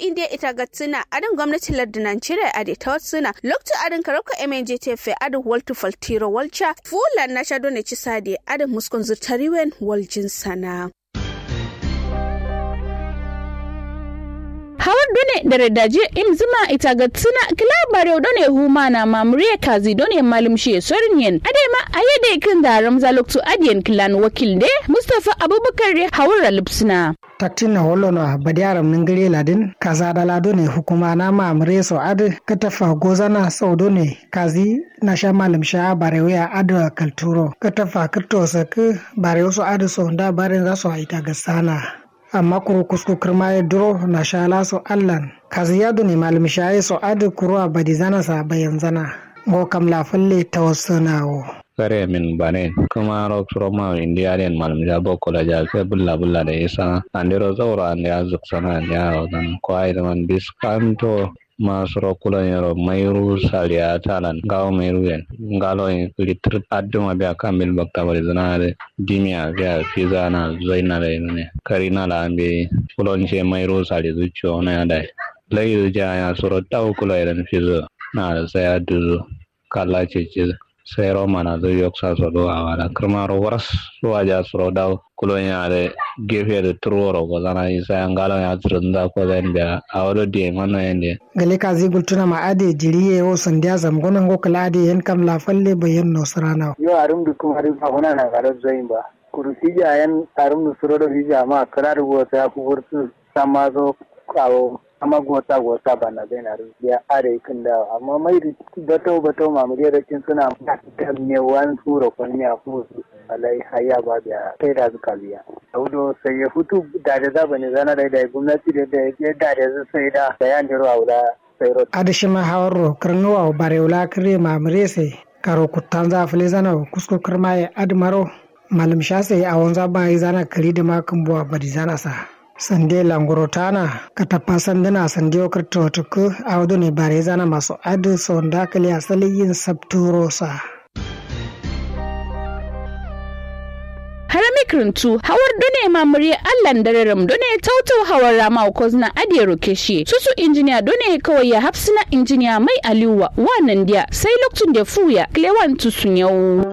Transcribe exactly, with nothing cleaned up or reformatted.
indi ye ita gatsǝna adǝn gomnati lardǝ nanjeriya adǝ ye tawatsǝna loktu adǝn karabka mnjtf ye adǝ waltu faltiro walca fuwullan nasha done cisa adǝ ye adǝ muskun zǝrtariwen waljin sana. Hawar done dare daji imzǝma ita gatsǝna kǝla barewu done humana mamuriye kazi done malumshiye sorin yen adai ma aye dai kǝnza ramza loktu adiyen kǝlan wakil de mustafa abubakar ye hawar ralupsǝna. Taktin na holono a badiya ramnin gare ladin kaza dala done hukuma na mamure so adǝ kǝtafa gozana sau done kazi nasha malumsha barewu ya adǝ kalturo kǝtafa kǝtto sakkǝ barewu so adǝ so nda barenza so aita gassana. Amma kuru kusku kǝrma ye duro nasha la so allan kazi ya done malumsha ye so adǝ kuru a badizana sa bayanzana. Ngo kam la falle tawassana wo. Kare min banen kǝmaro suro mawu indi adǝ yen malumsha bokko la ja sai bǝlla bǝlla da isa andero zauro andeya zǝksana andeya awozana ko ayi dǝman biskanto. Ma suro kulon yero mairu saliya talan ngawo mairu yen ngalo yen kǝli tǝr adǝma biya kambil bakta bari zǝna adǝ dimiya biya fizana zoina dai nune karina la mbeyi. Kulon she mairu sali zucciyo naya dai lai zuciya ya suro dawu kulo yeren fizo na da sai adǝ zu. Kalla cece sairo manazǝ yoksa so do awala kǝrmaro waras. Waja suro dawu kulonya dǝ gefe dǝ turworo gozana isaya ngalonya sǝrǝnza kozain biya awo do diye manoyen diye. Gale kazi gultuna ma adǝ ye jiri ye wo sandiya zamgono ngo kǝla adǝ ye yen kam la falle bayen no sǝrana. Yo arum dǝ kǝma dǝ ba hunana karo zoin ba kuru fija yen arum dǝ suro do fija ma kǝla dǝ go sai aku furtu samma so awo amma gota gota bana zaina dǝ biya adai kǝndawo amma mai dǝ batau batau mamuriya da cin suna kam ne wan suro kon ne aku. Alai hayya ba biya sai da zuka biya. Audo sai ya futu dade za bane zana dai dai gomnati dai dai dade zu sai da bayan diro aula. Sai ro adǝ shima hawarro kǝrnuwa barewu la kǝre mamure sai karo kuttanza fǝlezana wo kusku kǝrma ye adǝ maro. Malum sha sai awonza ba izana kǝri dǝma kǝmbuwa badizana sa. Sande languro tana katappa sandǝna sande wo kǝrto tukkǝ awo done bare zana maso adǝ sonda kǝliya saliyin sabturo sa. Harami kǝrǝntu hawar done mamuriye allan dareram done tautau hawar rama wo kozǝna adǝ ye rokeshiye susu injiniya done kawai ya hafsǝna injiniya mai aliwuwa wa nandiya sai loktunde fuwuya kǝlewan tusu nyawu.